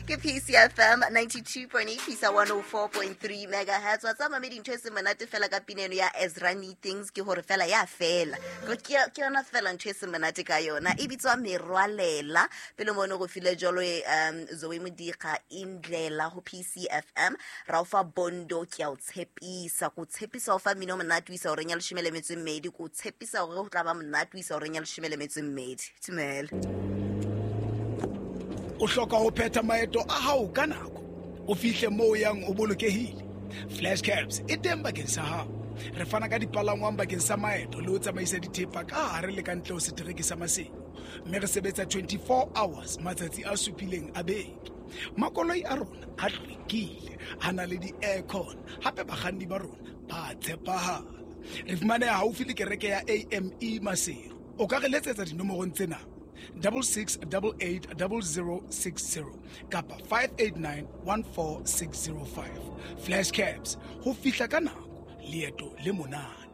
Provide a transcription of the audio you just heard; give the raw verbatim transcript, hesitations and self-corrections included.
Ke P C F M ninety-two point eight fisa one oh four point three megahertz. Wa tseba, mamedi, ntho e seng monate fela ka pina eno ya Ezra Things ke hore fela ya fela. Ke ke yona fela ntho e seng monate ka yona. E bitswa Merwalela. Pele mono go file jalo um Zoe Modiga, Indlela, ho P C F M. Ra o fa Bondo, Ke a o tshepisa. Ko tshepisa o fa mmino monate o isa horeng ya leshome le metso e mmedi. Ko tshepisa hore ho tla ba monate o isa horeng ya leshome le metso e mmedi. Tumela. O hloka ho phetha maeto a hao ka nako, o fihle moo o yang o bolokehile. Flash Cabs e teng bakeng sa hao. Re fana ka dipalangwang bakeng sa maeto le ho tsamaisa dithepa ka hare le ka ntle ho setereke sa Maseru, mme re sebetsa twenty-four hours matsatsi a supileng a beke. Makoloi a rona a hlwekile, a na le di-aircon, hape bakganni ba rona ba tshepahala. Re fumaneha haufi le kereke ya A M E Maseru. O ka re letsetsa dinomorong tsena: double six double eight double zero six zero kapa five eight nine one four six zero five. Flash Cabs, ho fihla ka nako, leeto le monate.